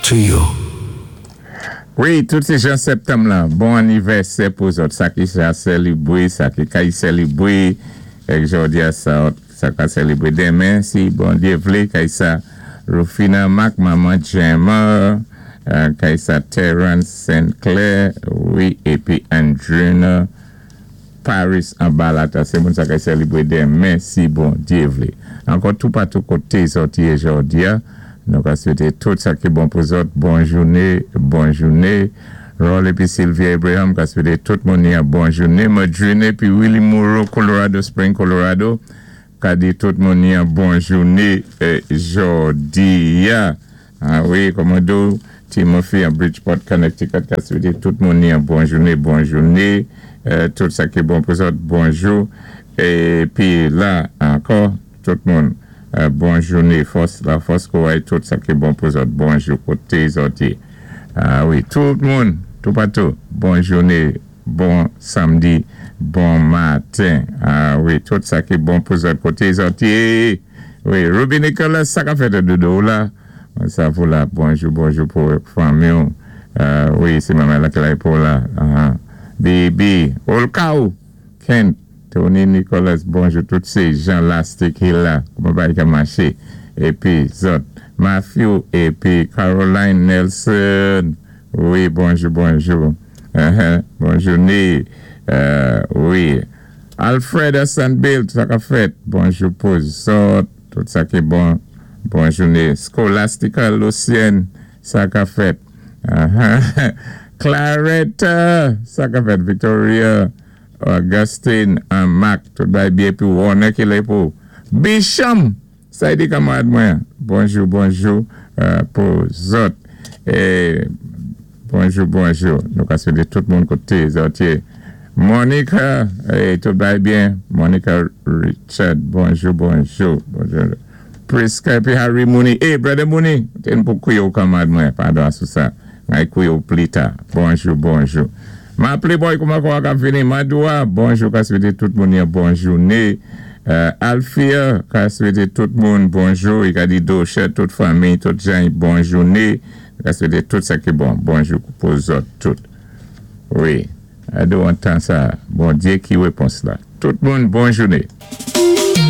To you. Wi, tout sé jan sèptanm lan, bon annivèsè pou zòt, sa ki sa sèlibwé, sa ki kay sèlibwé, èk jòdi a sa sa ka sèlibwé denmen si Bondyé vlé, kay sa Rufina Marc, manman Gemma, kay sa Terence Saint Clair, wi, épi Andrina Paris anba lata se moun sa kay sèlibre demen si Bondye vle. Ankò toupatou kote zòt ye jòdia nou ka swete tout sa ki bon pou zòt bon joune bon joune. Rol epi Sylvia Abraham ka swete tout moun yan bon joune. Madrine epi Willy Moreau Colorado Spring Colorado ka di tout moun yan bon joune jòdia. Ah wi Kòmando Timothy an Bridgeport Connecticut ka swete tout moun yon bon joune bon joune tout sa ki bon pou zòt bonjou epi la ankò tout moun bon joune fòs la fòs kouray tout sa ki bon pou zòt bonjou kote zòt ye ah wi tout moun toupatou bon joune bon samdi bon maten ah wi tout sa ki bon pou zòt kote zòt ye. Wi Ruby Nicolas sa kap fèt dodo ou la mwen sa pou la bonjou bonjou pou fanmi w wi se manman la ki la pou la BB Olka ou Kent Tony Nicolas bonjou tout se jan lastik hi la kouman bagay ka mache epi zòt Matthew epi Caroline Nelson wi bonjou bonjou bonjou ni wi. Alfred Hassan Bill sa kap fèt bonjou pou zòt tout sa ki bon bon joune Scholastica Lucienne sa kap fèt Clarette sa kap fèt Victoria Augustine Marc tout bagay byen epi Warner kilè pou Bicham Saidi kamarad mwen bonjou bonjou pou zòt bonjou bonjou nou ka swete tout moun kote zòt ye Monica tout bagay byen Monica Richard bonjou bonjou bonjou Prisca epi Harry Mooney e brother Mooney te n pou kouye w kamarad mwen padon sou sa May kouye w plita bonjou bonjou Ma playboy kouman kò a kap vini Madoua bonjou ka swete tout moun yon bon joune Alfia ka swete tout moun bonjou i ka di Doche tout fanmi tout jan bon joune ka swete tout sa ki bon bonjou pou zòt tout wi Ado an tan sa Bondye ki repons la tout moun bon joune.